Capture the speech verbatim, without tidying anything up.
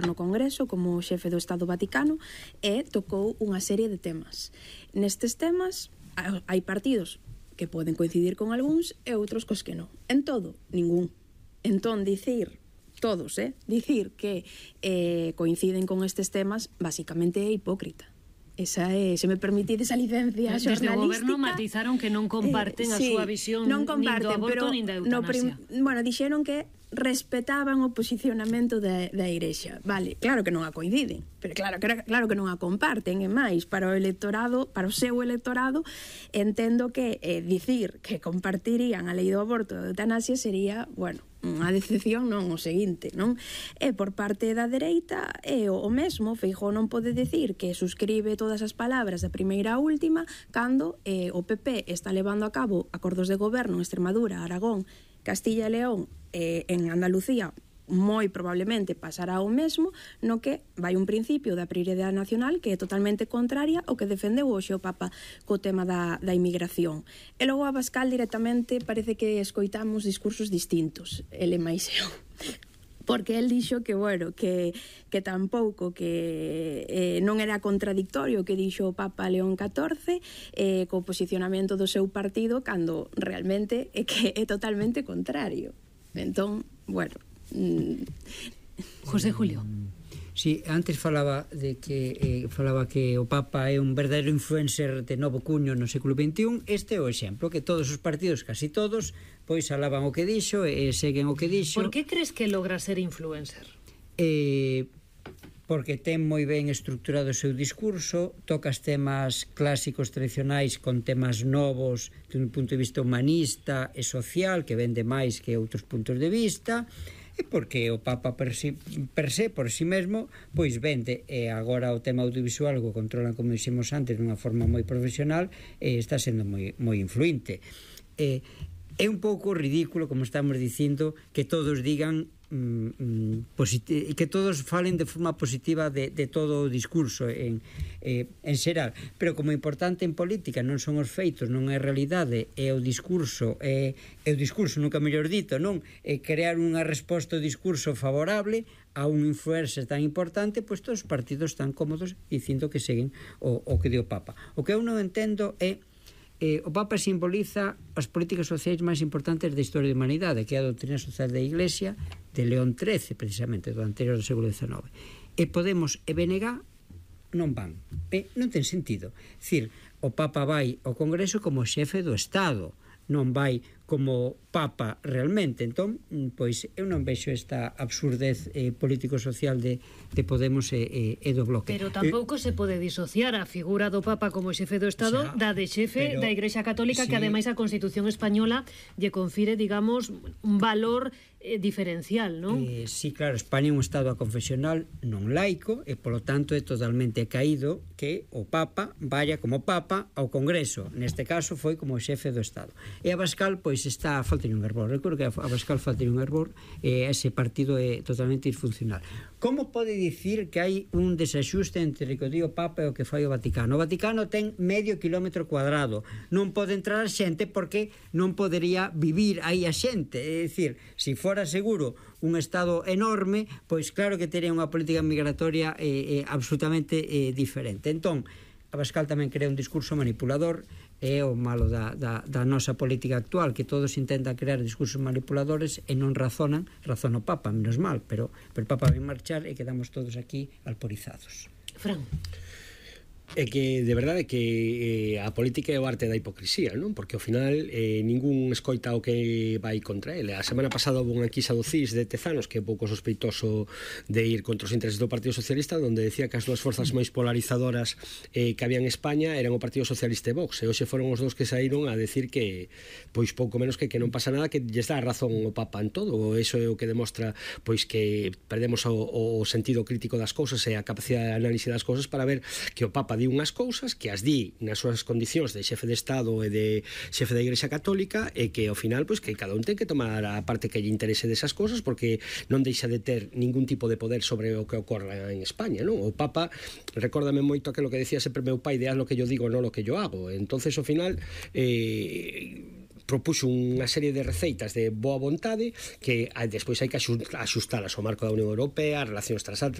no Congreso como xefe do Estado Vaticano e tocou unha serie de temas. Nestes temas hai partidos que poden coincidir con algúns e outros cos que non. En todo, ningún. Entón, dicir, todos, eh, dicir que eh, coinciden con estes temas, basicamente é hipócrita. Esa é, se me permitides a licencia xornalística. Desde o goberno matizaron que non comparten eh, a sí, súa visión non comparten, nin do aborto pero nin da eutanasia. No, bueno, dixeron que respetaban o posicionamento da, da Igrexa. Vale, claro que non a coinciden, pero claro, claro que non a comparten, e máis, para o electorado, para o seu electorado, entendo que eh, dicir que compartirían a lei do aborto e da eutanasia sería, bueno, unha decepción, non, o seguinte, non? E por parte da dereita é o mesmo. Feijóo non pode decir que suscribe todas as palabras da primeira a última cando eh, o P P está levando a cabo acordos de goberno en Extremadura, Aragón, Castilla e León, eh, en Andalucía moi probablemente pasará o mesmo, no que vai un principio da prioridade nacional que é totalmente contraria ao que defendeu hoxe o Papa co tema da, da inmigración. E logo a Abascal directamente parece que escoitamos discursos distintos, ele máis eu. Porque el dixo que, bueno, que, que tampouco, que eh, non era contradictorio que dixo o Papa León catorce eh, co posicionamento do seu partido, cando realmente é que é totalmente contrario. Entón, bueno... Mm. José Julio. Sí, antes falaba de que eh, falaba que o Papa é un verdadeiro influencer de novo cuño no século veintiún. Este é o exemplo, que todos os partidos, casi todos, pois alaban o que dixo e seguen o que dixo. Por que crees que logra ser influencer? Eh, porque ten moi ben estructurado o seu discurso, tocas temas clásicos tradicionais con temas novos dun punto de vista humanista e social, que vende máis que outros puntos de vista, e porque o Papa per si, per se, por si mesmo, pois vende, e agora o tema audiovisual o controlan, como dixemos antes, dunha forma moi profesional, e está sendo moi, moi influinte. E, é un pouco ridículo, como estamos dicindo, que todos digan mm, que todos falen de forma positiva de, de todo o discurso en, eh, en xeral, pero como importante en política non son os feitos, non é a realidade, é o discurso, é, é o discurso, nunca mellor dito, non? É crear unha resposta ao discurso favorable a un influencer tan importante, pois todos os partidos están cómodos dicindo que seguen o, o que di o Papa. O que eu non entendo é Eh, o Papa simboliza as políticas sociais máis importantes da historia da humanidade, que é a doutrina social da Iglesia de León trece, precisamente, do anterior do século dezenove. E Podemos e B N G non van. E non ten sentido. É dicir, o Papa vai ao Congreso como xefe do Estado, non vai como Papa realmente. Entón, pois, eu non vexo esta absurdez eh, político-social de, de Podemos e, e, e do Bloque. Pero tampouco eh, se pode disociar a figura do Papa como xefe do Estado, o sea, da de xefe pero, da Igrexa Católica, sí, que ademais a Constitución Española lle confire, digamos, un valor eh, diferencial, non? Eh, sí, claro, España é un Estado confesional non laico e, polo tanto, é totalmente caído que o Papa vaya como Papa ao Congreso. Neste caso foi como xefe do Estado. E Abascal, pois, está a falta de un error. Recordo que a Abascal falta de un error e ese partido é totalmente disfuncional. Como pode dicir que hai un desaxuste entre o que di o Papa e o que fai o Vaticano? O Vaticano ten medio kilómetro cuadrado. Non pode entrar a xente porque non podería vivir aí a xente. É dicir, se fora seguro un Estado enorme, pois claro que teria unha política migratoria eh, eh, absolutamente eh, diferente. Entón, Abascal tamén crea un discurso manipulador. É o malo da, da, da nosa política actual, que todos intentan crear discursos manipuladores e non razonan. Razona o Papa, menos mal, pero, pero o Papa vai marchar e quedamos todos aquí alporizados. Fran. É que, de verdade, que eh, a política é o arte da hipocrisía, non? Porque ao final eh, ningún escoita o que vai contra ele. A semana pasada houve unha enquisa do C I S de Tezanos, que é pouco sospeitoso de ir contra os intereses do Partido Socialista, onde decía que as dúas forzas máis polarizadoras eh, que había en España eran o Partido Socialista e Vox, e hoxe foron os dous que saíron a decir que, pois pouco menos que, que non pasa nada, que lles dá razón o Papa en todo. Eso é o que demostra, pois, que perdemos o, o sentido crítico das cousas e a capacidade de análise das cousas para ver que o Papa di unhas cousas, que as di nas súas condicións de xefe de Estado e de xefe da Igrexa Católica, e que ao final, pois, que cada un ten que tomar a parte que lle interese desas cousas, porque non deixa de ter ningún tipo de poder sobre o que ocorra en España, non? O Papa, recórdame moito aquilo que decía sempre meu pai de haz lo que yo digo, non lo que yo hago. Entonces, ao final, eh propuxo unha serie de receitas de boa vontade que despois hai que axustalas ao marco da Unión Europea, as relacións transatlánticas,